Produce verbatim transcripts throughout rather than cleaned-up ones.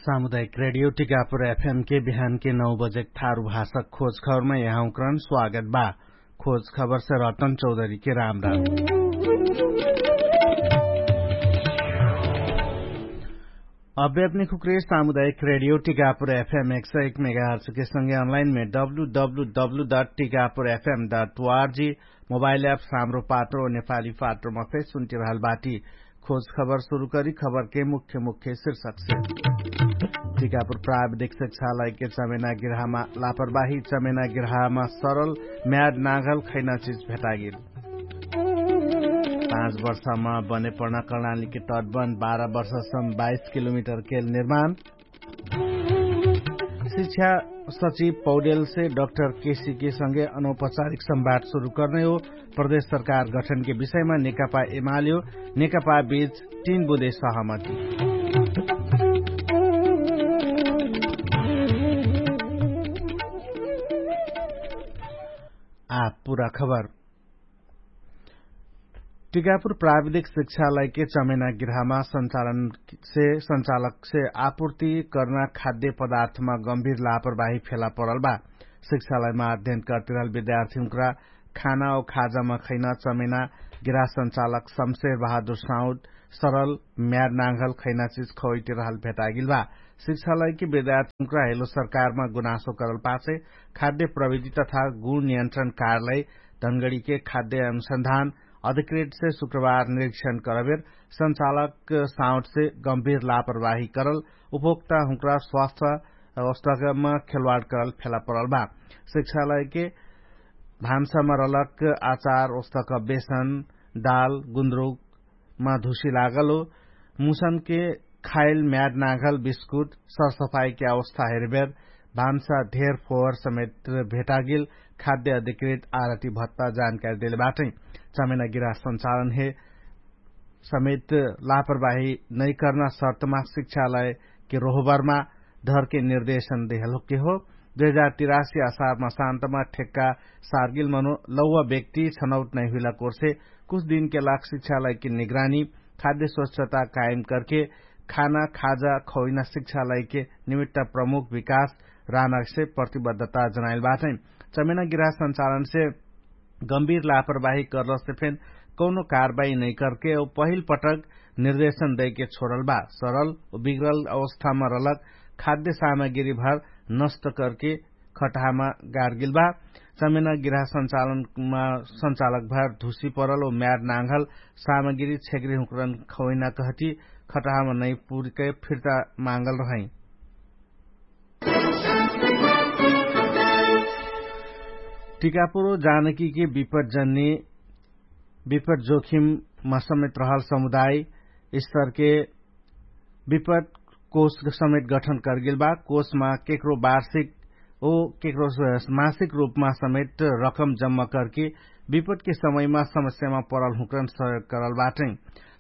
सामुदायिक रेडियो टिकापुर एफएम के बिहान के नौ बजेक थारु भाषक खोज खबरमा यहाँउक्रन स्वागत बा। खोज खबरसे रतन चौधरी के राम राम। अब्यापनी खुक्रे सामुदायिक रेडियो टिकापुर एफएम एक सौ एक मेगाहर्च के संगे अनलाइन मे W W W dot Tikapur F M dot O R G mobile app साम्रो पात्रो नेपाली पात्रोमा फेर सुन्टिरहल बाटी। खोज खबर सुरु करी खबर के मुख्य मुख्य शीर्षक से। टिकापुर प्राविधिक शिक्षालय के चमेना गिरहामा लापरवाही चमेना गिरहामा सरल म्याड नागल खैना चिज भेटागिल। पाँच वर्षमा बने पढ्ना कर्णाली के तटबन बाह्र वर्षसम बाइस किलोमिटर केल निर्माण। शिक्षा सचिव पौडेल से डक्टर केसी के संगे अनौपचारिक संवाद सुरु कर्ने हो। प्रदेश सरकार गठन के विषयमा नेकपा एमाल्यो नेकपा बीच तीन बुँदे सहमति। आ पुरा खबर। टिकापुर प्राविधिक शिक्षालय के चमेना गिरहामा संचालन से संचालक से आपुर्ति कर्ना खाद्य पदार्थमा गम्भीर लापरवाही फेला परल बा। शिक्षालयमा अध्ययन कर्तिरहल विद्यार्थी हुँक्रा खाना औ खाजामा खैना चमेना गिरहा संचालक शमशेर बहादुर साउद सरल म्यार नाङ्घल खैना चिज खवैतिरहल भेटागिल बा। शिक्षालय के विद्यार्थी हुँक्रा हेलो सरकारमा गुनासो करल पाछे खाद्य प्रविधि तथा गुण नियन्त्रण कार्यालय धनगडी के खाद्य अनुसन्धान अधिकृत से शुक्रबार निरीक्षण करबेर संचालक साउट से गम्भीर लापरवाही करल उपभोक्ता हुँक्रा स्वास्थ्य अवस्थामा खेलवाड करल फेला परल बा। शिक्षालय के भान्सामा रलक आचार ओस्तक बेसन दाल गुन्द्रुकमा धुसी लागल हो मुसनके खाइल म्याड नाघल बिस्कुट सरसफाइके अवस्था हेरबेर भान्सा ढेर फोहर समेत भेटागिल खाद्य अधिकृत आरती भत्ता जानकारी देले बाटै। चमेना गिरा संचालन हे समेत लापरवाही नैकर्ना शर्तमा शिक्षालय के रोहबरमा धरके निर्देशन देहलके हो। दुई हजार तिरासी असारमा शान्तमा ठेक्का सार्गिल मनो लौवा व्यक्ति छनौट नैहुइला कोर्से कुछ दिनके लाग शिक्षालय के निगरानी खाद्य स्वच्छता कायम करके खाना खाजा खौइना शिक्षालय के निमित्त प्रमुख विकास रानक से प्रतिबद्धता जनाइल बाटै। चमेना गिरा संचालन से गम्भीर लापरवाही करलसे फेन कौनो कारवाही नैकरके औ पहिल पटक निर्देशन दैके छोडल बा। सरल बिग्रल अवस्थामा रलक खाद्य सामग्री भर नष्ट करके खटहामा गार्गिल बा। चमेना गिरा संचालनमा संचालक भर धुसी परल औ म्यार नाङ्घल सामग्री छेग्री हुँकरन खौइना कहती खटहामा नैपुरके फिर्ता माङ्गल रहै। टिकापुरो जानकीके विपटजन्य विपट जोखिममा समेत रहल समुदाय स्तरके विपट कोष समेत गठन करगेल बा। कोषमा केकरो वार्षिक ओ केकरो मासिक रूपमा समेत रकम जम्मा करके विपटके समयमा समस्यामा परल हुँकरन सहयोग करल बाटै।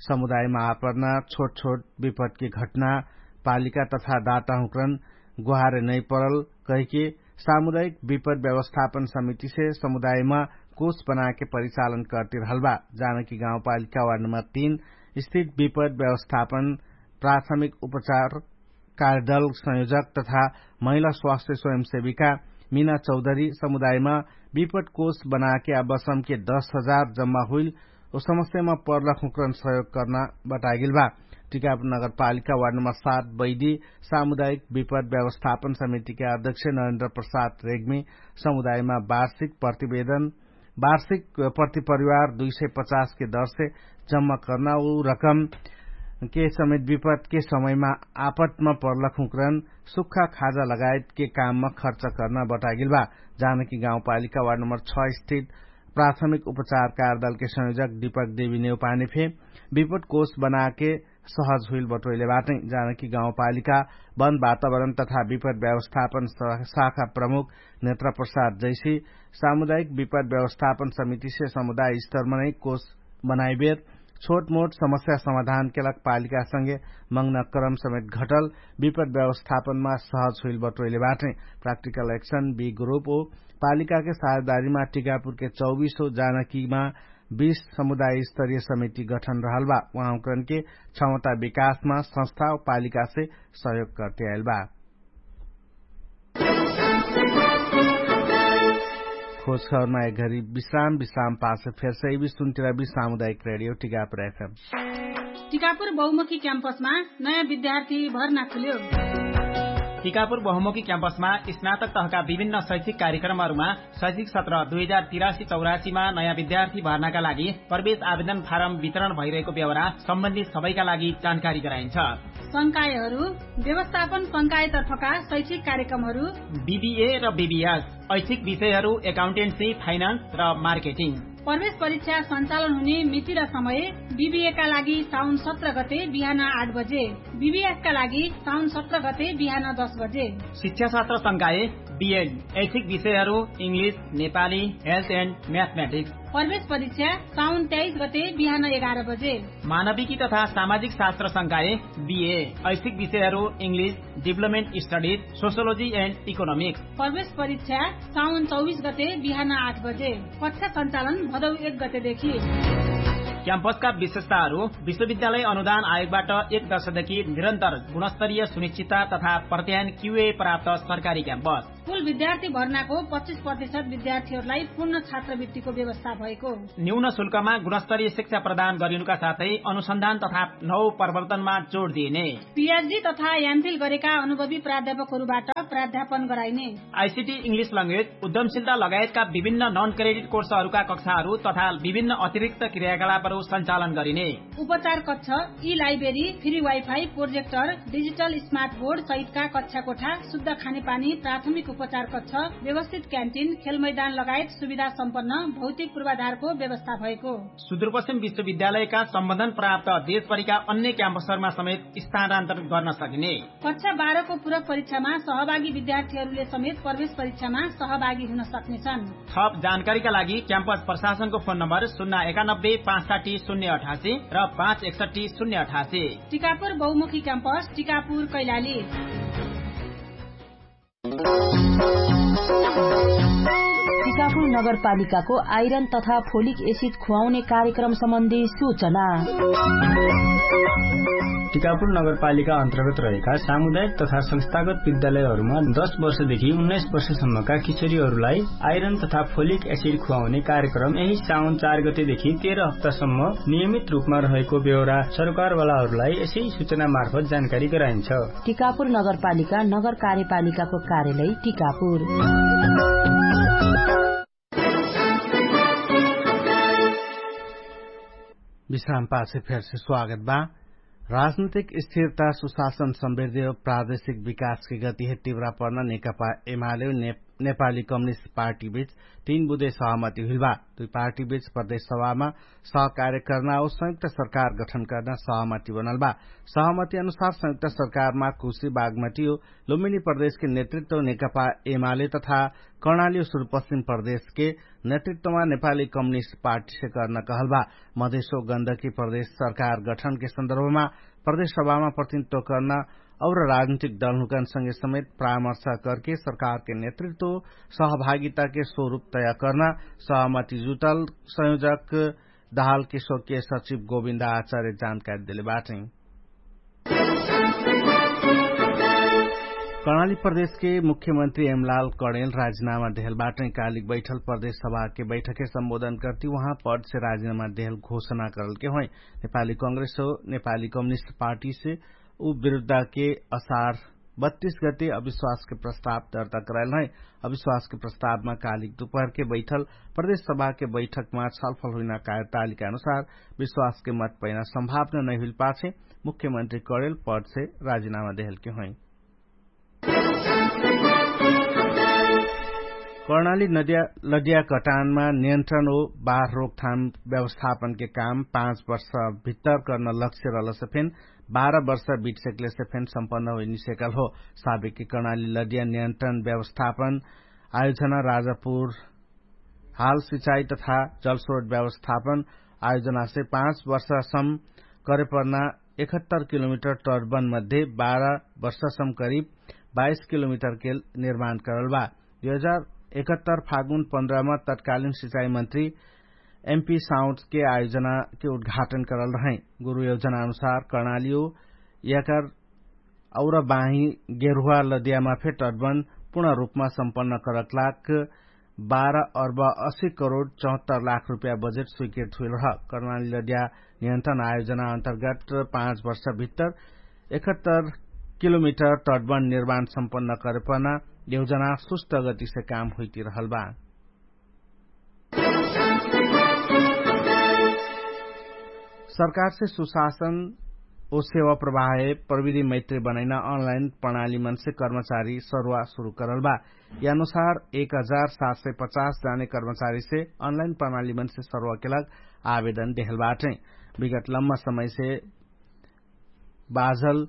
समुदायमा आपरना छोट छोट विपटके घटना पालिका तथा दाता हुँकरन गोहारे नै परल कहिके सामुदायिक विपद व्यवस्थापन समितिसे समुदायमा कोष बनाके परिचालन करतिरहल बा। जानकी गाउँपालिका वार्ड नम्बर तीन स्थित विपद व्यवस्थापन प्राथमिक उपचार कार्यदल संयोजक तथा महिला स्वास्थ्य स्वयंसेविका मिना चौधरी समुदायमा विपद कोष बनाके आबसमके दस हजार जम्मा हुइल ओ समस्यामा पर्लक हुँकरन सहयोग कर्ना बतागेल बा। टिकापुर नगरपालिका वार्ड नम्बर सात बैदी सामुदायिक विपद व्यवस्थापन समितिके अध्यक्ष नरेन्द्र प्रसाद रेग्मी समुदायमा वार्षिक प्रतिवेदन वार्षिक प्रति परिवार दुई सय पचास के दरसे जम्मा कर्ना उ रकम के समेत विपदके समयमा आपतमा पर्लक हुँकरन सुक्खा खाजा लगायतके काममा खर्च कर्ना बतागेल बा। जानकी गाउँपालिका वार्ड नम्बर छ स्थित प्राथमिक उपचार कार्यदलके संयोजक दीपक देवी नेउपाने फे विपद कोष बनाके सहज हुइल बटोइले बाटै। जानकी गाउँपालिका वन वातावरण तथा विपद व्यवस्थापन शाखा प्रमुख नेत्र प्रसाद जैसी सामुदायिक विपद व्यवस्थापन समितिसे समुदाय स्तरमनै कोष बनाइबेर छोटमोट समस्या समाधानके लग पालिकासँगे मङ्गना क्रम समेत घटल विपद व्यवस्थापनमा सहज हुइल बटोइले बाटै। प्राक्टिकल एक्सन बी ग्रुप ओ पालिकाके साझेदारीमा टिकापुरके चौबिसो जानकीमा बीस समुदाय स्तरीय समिति गठन रहल बा। उहाँ उकरन के क्षमता विकासमा संस्था पालिकासे सहयोग करते आइल बा। खोज खबरमा एक घरी विश्राम विश्राम पास फेरसे इबी सुन्तिरा बी सामुदायिक रेडियो टिकापुर एफएम। टिकापुर बहुमुखी क्याम्पसमा नयाँ विद्यार्थी भर्ना खुल्यो। टिकापुर बहुमुखी क्याम्पसमा स्नातक तहका विभिन्न शैक्षिक कार्यक्रमहरूमा शैक्षिक सत्र दुई हजार तिरासी चौरासीमा नयाँ विद्यार्थी भर्नाका लागि प्रवेश आवेदन फारम वितरण भइरहेको बेहोरा सम्बन्धित सबैका लागि जानकारी गराइन्छ। संकायहरू व्यवस्थापन संकायतर्फका शैक्षिक कार्यक्रमहरू बिबिए र बिबिएस, ऐच्छिक विषयहरू एकाउन्टेन्सी, फाइनान्स र मार्केटिङ। प्रवेश परीक्षा सञ्चालन हुने मिति र समय बिबिएका लागि साउन सत्र गते बिहान आठ बजे, बिबिएसका लागि साउन सत्र गते बिहान दस बजे। शिक्षाशास्त्र संकाय बिएड, ऐच्छिक विषयहरू इङ्ग्लिस, नेपाली, हेल्थ एन्ड म्याथमेटिक्स। प्रवेश परीक्षा साउन तेइस गते बिहान एघार बजे। मानविकी तथा सामाजिक शास्त्र संकाय बिए, ऐच्छिक विषयहरू इङ्ग्लिस, डिभलपमेन्ट स्टडिज, सोसियोलोजी एन्ड इकोनोमिक्स। प्रवेश परीक्षा साउन चौबिस गते बिहान आठ बजे। कक्षा सञ्चालन भदौ एक गतेदेखि। क्याम्पसका विशेषताहरू विश्वविद्यालय अनुदान आयोगबाट एक दशकदेखि निरन्तर गुणस्तरीय सुनिश्चितता तथा प्रत्यायन क्युए प्राप्त सरकारी क्याम्पस। कुल विद्यार्थी भर्नाको पच्चिस प्रतिशत विद्यार्थीहरूलाई पूर्ण छात्रवृत्तिको व्यवस्था भएको। न्यून शुल्कमा गुणस्तरीय शिक्षा प्रदान गरिनुका साथै अनुसन्धान तथा नौ प्रवर्तनमा जोड दिइने। पिएचडी तथा एमफिल गरेका अनुभवी प्राध्यापकहरूबाट प्राध्यापन गराइने। आइसिटी इङ्ग्लिस ल्याङ्ग्वेज, उद्यमशीलता लगायतका विभिन्न नन क्रेडिट कोर्सहरूका कक्षाहरू तथा विभिन्न अतिरिक्त क्रियाकलापहरू सञ्चालन गरिने। उपचार कक्ष, ई library, free wifi, projector, digital smart board सहितका कक्षा कोठा, शुद्ध खानेपानी, प्राथमिक उपचार कक्ष, व्यवस्थित क्यान्टिन, खेलमैदान लगायत सुविधा सम्पन्न भौतिक पूर्वाधारको व्यवस्था भएको। सुदूरपश्चिम विश्वविद्यालयका सम्बन्धन प्राप्त देशभरिका अन्य क्याम्पसहरूमा समेत स्थानान्तरण गर्न सकिने। कक्षा बाह्रको पूरक परीक्षामा सहभागी विद्यार्थीहरूले समेत प्रवेश परीक्षामा सहभागी हुन सक्नेछन्। थप जानकारीका लागि क्याम्पस प्रशासनको फोन नम्बर शून्य एकानब्बे पाँच साठी शून्य अठासी र पाँच एकसट्ठी शून्य अठासी। टिकापुर बहुमुखी क्याम्पस, टिकापुर कैलाली। टिकापुर नगरपालिकाको आइरन तथा फोलिक एसिड खुवाउने कार्यक्रम सम्बन्धी सूचना। टिकापुर नगरपालिका अन्तर्गत रहेका सामुदायिक तथा संस्थागत विद्यालयहरूमा दस वर्षदेखि उन्नाइस वर्षसम्मका किशोरीहरूलाई आइरन तथा फोलिक एसिड खुवाउने कार्यक्रम यही साउन चार गतेदेखि तेह्र हप्तासम्म नियमित रूपमा रहेको बेहोरा सरकारवालाहरूलाई यसै सूचना मार्फत जानकारी गराइन्छ। टिकापुर नगरपालिका नगर कार्यपालिकाको कार्यालय टिकापुर। विश्राम पाछे फेरसे स्वागत बा। राजनैतिक स्थिरता सुशासन समृद्धि प्रादेशिक विकासके गतिहे तिव्रा पर्न नेकपा एमाले नेपाली कम्युनिस्ट पार्टी बीच तीन बुधे सहमति हुइल बा। दुई पार्टी बीच प्रदेश सभामा सहकार्य कर्ना और संयुक्त सरकार गठन कर्ना सहमति बनल बा। सहमति अनुसार संयुक्त सरकारमा कुशी बागमति और लुम्बिनी प्रदेशके नेतृत्व नेकपा एमाले तथा कर्णाली और सुरुपश्चिम प्रदेशके नेतृत्वमा नेपाली कम्युनिस्ट पार्टीसे कर्ना कहल बा। मधेशो गन्धकी प्रदेश सरकार गठनके सन्दर्भमा प्रदेश सभामा प्रतिनिधित्व कर्ना और राजनीतिक दलहुँकन संगे समेत परामर्श करके सरकारके नेतृत्व सहभागिताके स्वरूप तय कर्ना सहमति जुटल संयोजक दहालके स्वकीय सचिव गोविन्द आचार्य जानकारी देले बाटै। कर्णाली प्रदेशके मुख्यमन्त्री एमलाल कणेल राजिनामा देहल बाटै। कालिक बैठल प्रदेश सभाके बैठके सम्बोधन करती उहाँ पदसे राजिनामा देहल घोषणा करलके होइ। नेपाली कङ्ग्रेस हो नेपाली कम्युनिस्ट पार्टीसे उ विरुद्धके असार बत्तीस गते अविश्वासके प्रस्ताव दर्ता कराइल है। अविश्वासके प्रस्तावमा कालिक दुपहरके बैठल प्रदेश सभाके बैठकमा छलफल हुइना कार्यतालिका अनुसार विश्वासके मत पैना सम्भावना नैहुइल पाछे मुख्यमन्त्री कडेल पदसे राजिनामा देहलके होइ। कर्णाली नदिया लडिया कटानमा नियन्त्रण हो बार रोकथाम व्यवस्थापनके काम पाँच वर्ष भित्तर कर्न लक्ष्य रहलसे फेन बाह्र वर्ष बिटसेकलेसे फेन सम्पन्न होइनिसेकल हो। साबिकके कर्णाली लडिया नियन्त्रण व्यवस्थापन आयोजना राजापुर हाल सिचाइ तथा जलस्रोट व्यवस्थापन आयोजनासे पाँच वर्षसम करेपर्ना एकहत्तर किलोमिटर टर्बन मध्ये बाह्र वर्षसम करिब बाइस किलोमिटरके निर्माण करल बा। दुई हजार एकहत्तर फागुन पन्ध्रमा तत्कालिन सिचाइ मन्त्री एमपी साउन्डके आयोजनाके उद्घाटन करल रहै। गुरु योजनाअनुसार कर्णालियो यकर और बाही गेरुवा लद्यामा फे टटबन पूर्ण रूपमा सम्पन्न करकलाक बाह्र अर्ब असी करोड चौहत्तर लाख रुपया बजेट स्वीकृत हुइल रह। कर्णाली लद्या नियन्त्रण आयोजना अन्तर्गत पाँच वर्ष भित्तर एकहत्तर किलोमिटर टटबन निर्माण सम्पन्न करेपना योजना सुस्त गतिसे काम हुइतिरहल बा। सरकारसे सुशासन ओ सेवा प्रवाहे प्रविधि मैत्री बनैना अनलाइन प्रणाली मनसे कर्मचारी सरुवा सुरु करल बा। यनुसार एक हजार सात सय पचास जाने कर्मचारीसे अनलाइन प्रणाली मनसे सरुवा केलक आवेदन देहल बाटै। विगत लम्मा समयसे बाझल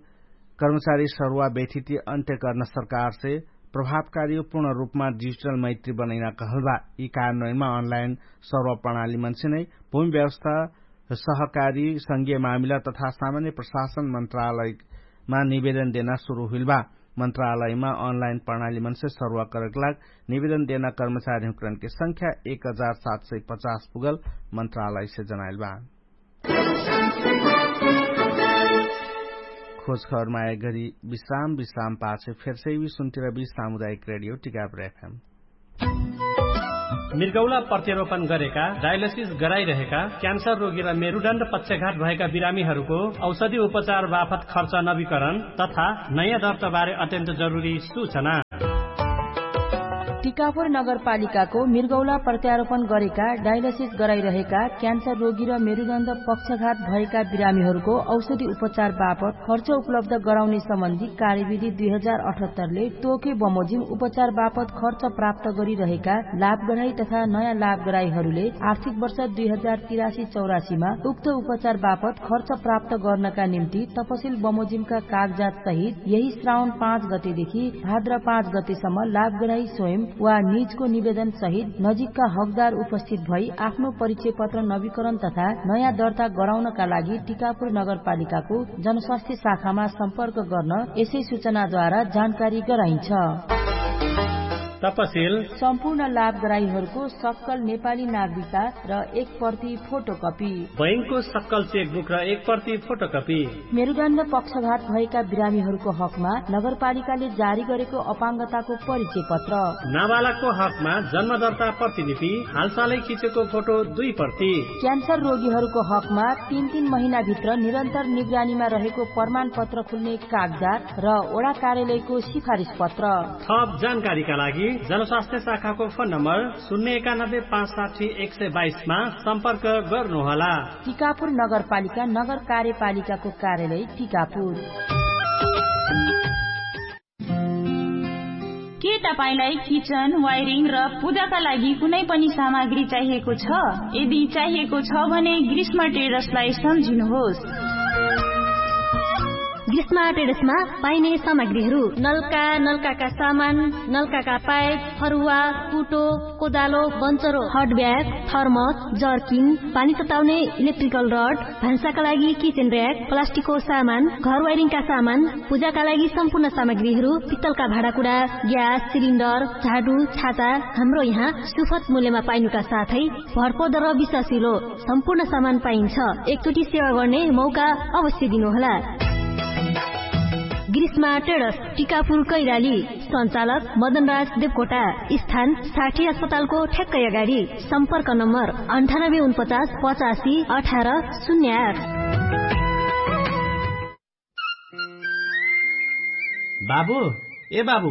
कर्मचारी सरुवा बेठिति अन्त्य कर्न सरकारसे प्रभावकारी पूर्ण रूपमा डिजिटल मैत्री बनैना कहल बा। यि कारणमा अनलाइन सरुवा प्रणाली मनसे नै भूमि व्यवस्था सहकारी संगीय मामिला तथा सामान्य प्रशासन मन्त्रालयमा निवेदन देना सुरु हुइल बा। मन्त्रालयमा अनलाइन प्रणाली मनसे सरुवा करकलाग निवेदन देना कर्मचारी हुँकरनके संख्या एक हजार सात सय पचास पुगल मन्त्रालयसे जनाइल बा। खोजखबर माया गरी विश्राम विश्राम पाछे फेरसे यि सुन्तिर बि सामुदायिक रेडियो टिकापुर एफएम। मृगौला प्रत्यारोपण गरेका डायलिसिस गराइरहेका क्यान्सर रोगी र मेरुडण्ड पक्षघात भएका बिरामीहरूको औषधि उपचार बापत खर्च नवीकरण तथा नयाँ दर्ताबारे अत्यन्त जरुरी सूचना। टिकापुर नगरपालिकाको मृगौला प्रत्यारोपण गरेका डायलिसिस गराइरहेका क्यान्सर रोगी र मेरुदण्ड पक्षघात भएका बिरामीहरूको औषधि उपचार बापत खर्च उपलब्ध गराउने सम्बन्धी कार्यविधि दुई हजार अठहत्तरले तोके बमोजिम उपचार बापत खर्च प्राप्त गरिरहेका लाभगराई तथा नयाँ लाभगराईहरूले आर्थिक वर्ष दुई हजार तिरासी चौरासीमा उक्त उपचार बापत खर्च प्राप्त गर्नका निम्ति तपसिल बमोजिमका कागजात सहित यही श्रावण पाँच गतेदेखि भाद्र पाँच गतेसम्म लाभगराई स्वयं वा निजको निवेदन सहित नजिकका हकदार उपस्थित भई आफ्नो परिचय पत्र नवीकरण तथा नयाँ दर्ता गराउनका लागि टिकापुर नगरपालिकाको जनस्वास्थ्य शाखामा सम्पर्क गर्न यसै सूचनाद्वारा जानकारी गराइन्छ। तपसिल सम्पूर्ण लाभगराईहरूको सक्कल नेपाली नागरिकता र एक प्रति फोटोकपी बैंकको सक्कल चेकबुक र एक प्रति फोटोकपी। मेरुदण्ड पक्षघात भएका बिरामीहरूको हकमा नगरपालिकाले जारी गरेको अपाङ्गताको परिचय पत्र। नाबालकको हकमा जन्मदर्ता प्रतिलिपि हालसालै खिचेको फोटो दुई प्रति। क्यान्सर रोगीहरूको हकमा तीन तीन महिनाभित्र निरन्तर निगरानीमा रहेको प्रमाणपत्र खुल्ने कागजात र ओडा कार्यालयको सिफारिस पत्र। थप जानकारीका लागि जनस्वास्थ्य शाखाको फोन नम्बर शून्य एकानब्बे पाँच साठी एक सय बाइसमा सम्पर्क गर्नुहोला। टिकापुर नगरपालिका नगर कार्यपालिकाको कार्यालय टिकापुर। के तपाईंलाई किचन वायरिङ र पूजाका लागि कुनै पनि सामग्री चाहिएको छ? यदि चाहिएको छ भने ग्रीष्म ट्रेडर्सलाई सम्झिनुहोस्। ग्रीष्म ट्रेडर्समा पाइने सामग्रीहरू नल्का, नल्काका सामान, नल्काका पाइप, फरुवा, कुटो, कोदालो, बन्चरो, हटब्याग, थर्मस, जर्किन, पानी तताउने इलेक्ट्रिकल रड, भान्साका लागि किचेन र्याक, प्लास्टिकको सामान, घर वायरिङका सामान, पूजाका लागि सम्पूर्ण सामग्रीहरू, पित्तलका भाँडाकुडा, ग्यास सिलिन्डर, झाडु, छाता, हाम्रो यहाँ सुफत मूल्यमा पाइनुका साथै भरपर्दो र विश्वासिलो सम्पूर्ण सामान पाइन्छ। एकचोटि सेवा गर्ने मौका अवश्य दिनुहोला। ग्रीष्मा ट्रेडर्स, टिकापुर कैलाली। सञ्चालक मदनराज देवकोटा। स्थान साठी अस्पतालको ठ्याक्कै अगाडि। सम्पर्क नम्बर अन्ठानब्बे उनपचास पचासी अठार शून्य आठ। बाबु, ए बाबु,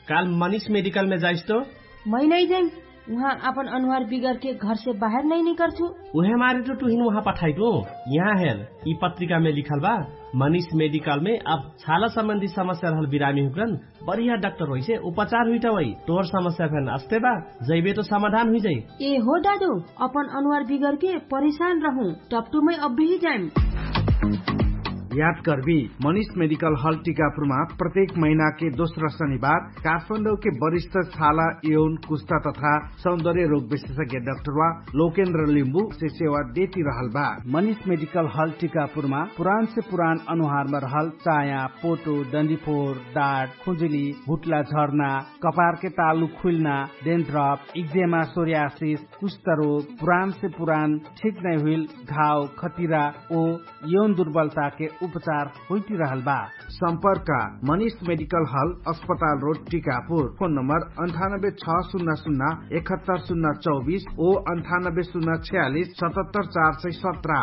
काल मनिष मेडिकलमे जाइस तो? मै नै जाइम। उहाँ आपन अनुहार बिगरके घरसे बाहेर नै निकर्छु। उहे मारे तो तुहिन उहाँ पठाइटु। यहाँ हेर, यि पत्रिकामे लिखल बा, मनिष मेडिकलमे अब छाला सम्बन्धी समस्या रहल बिरामी हुक्रन बढिया डाक्टर होइसे उपचार हुइटा वइ। तोहर समस्या फेन अस्ते बा, जैबे तो समाधान हुइजाइ। ए हो दादु, अपन अनुहार बिगरके परेशान रहु, टपटुमै अब्बेही जाइम। याद कर्बी, मनिष मेडिकल हल टिकापुरमा प्रत्येक महिनाके दोस्रा शनिबार काठमाडौके वरिष्ठ छाला, यौन, कुस्ता तथा सौन्दर्य रोग विशेषज्ञ डाक्टरवा लोकेन्द्र लिम्बु से सेवा देती रहल बा। मनिष मेडिकल हल टिकापुरमा पुरान से पुरान अनुहारमा रहल चाया, पोटो, डन्डीफोर, डाट, खुजुली, भुट्ला झर्ना, कपारके तालु खुइल्ना, डेन्थ्रप, इक्जेमा, सोर्यासिस, कुष्ठरोग, पुरान से पुरान ठिक नै हुइल घाव, खतिरा ओ यौन दुर्बलताके उपचार होइतिरहल बा। सम्पर्क, मनिष मेडिकल हल, अस्पताल रोड, टिकापुर। फोन नम्बर अन्ठानब्बे छ सुन्ना सुन्ना एकहत्तर सुन्ना चौबिस ओ अन्ठानब्बे सुन्ना छ्यालिस सतहत्तर चार सय सत्र।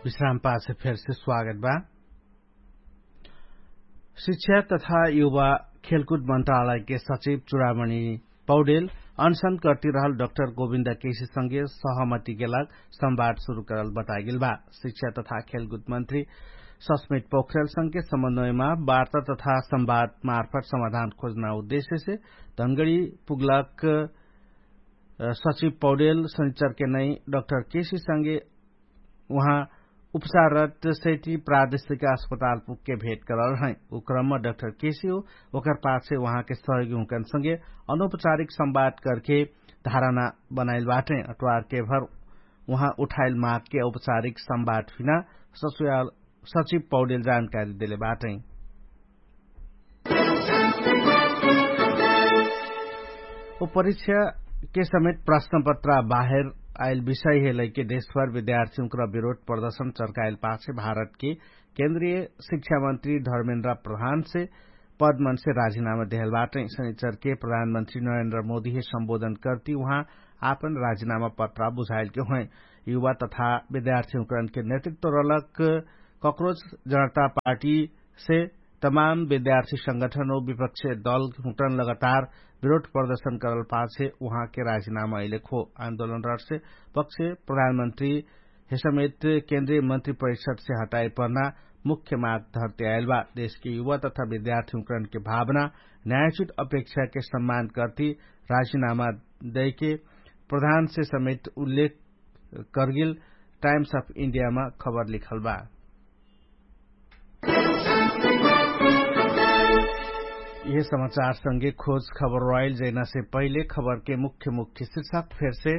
विश्राम पाछे फेरसे स्वागत बा। शिक्षा तथा युवा खेलकुद मन्त्रालयके सचिव चुडामणि पौडेल अनसन कर्तिरहल डक्टर गोविन्द केसीसँगे सहमतिके लाग संवाद सुरु करल बतागेल बा। शिक्षा तथा खेलकुद मन्त्री सस्मित पोखरेलसँगे समन्वयमा वार्ता तथा संवाद मार्फत समाधान खोज्न उद्देश्यसे धनगडी पुगलक सचिव पौडेल शनिचरके नै डक्टर केसीसँगे उहाँ उपचाररत सैटी प्रादेशिक अस्पताल पुगके भेट करल रहै। उ क्रममा डक्टर केसी हो ओकर पाछे उहाँके सहयोगी हुँकनसँगे अनौपचारिक संवाद करके धारणा बनाइल बाटै। अट्वारके भर उहाँ उठाइल मागके औपचारिक संवाद हुइना ससुयाल सचिव पौडेल जानकारी देले बाटै। ओ परीक्षाके समेत प्रश्नपत्र बाहेर आइल विषय हेलैके देशभर विद्यार्थीहुँक्र विरोध प्रदर्शन चर्काइल पाछे भारतके केन्द्रीय शिक्षामन्त्री धर्मेन्द्र प्रधानसे पदमनसे राजिनामा देहल बाटै। शनिचरके प्रधानमन्त्री नरेन्द्र मोदीहे सम्बोधन कर्ति उहाँ आपन राजिनामा पत्रा बुझाइलके हुँए। युवा तथा विद्यार्थीहुँक्रनके नेतृत्व रलक कक्रोच जनता पार्टीसे तमाम विद्यार्थी संगठन ओ विपक्ष दल हुँक्रन लगातार विरोध प्रदर्शन करल पाछे उहाँके राजिनामा अइलेक हो। आन्दोलन रटसे पक्ष प्रधानमन्त्री हेसमेत केन्द्रीय मन्त्री परिषदसे हटाइ पर्ना मुख्य माग धर्ते आइल बा। देशके युवा तथा विद्यार्थीहुँक्रनके भावना न्यायोचित अपेक्षाके सम्मान कर्ति राजिनामा दैके प्रधानसे समेत उल्लेख करगेल टाइम्स अफ इन्डियामा खबर लिखल बा। यह समाचारसँगे खोज खबर रइल जैनासे पहिले खबरके मुख्य मुख्य शिर्षक फेरसे।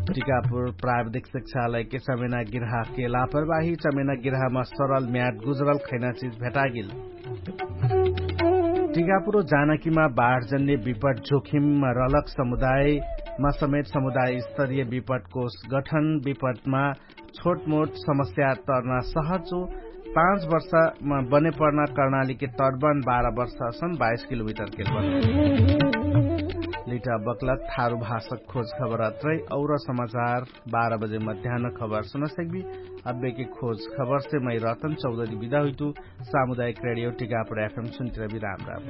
टिकापुर प्राविधिक शिक्षालयके चमेना गिर्हाके लापरवाही चमेना गिर्हामा सरल म्याद गुजरल खैना चिज भेटागेल। टिकापुर जानकीमा बाढजन्य विपट जोखिममा रलक समुदायमा समेत समुदाय स्तरीय विपटकोष गठन विपटमा छोटमोट समस्या तर्ना सहज हो। पाँच वर्षमा बने पर्ना कर्णालीके तटबन बाह्र वर्षसम बाइस किलोमिटरके बन। लिटा बक्लक थारु भाषक खोज खबर अत्रै और समाचार बाह्र बजे मध्यान खबर सुनसक्बी। अब्बेके खोज खबरसे मै रतन चौधरी बिदा हुइतु। सामुदायिक रेडियो टिकापुर एफएम सुन्तिरबी राम राम।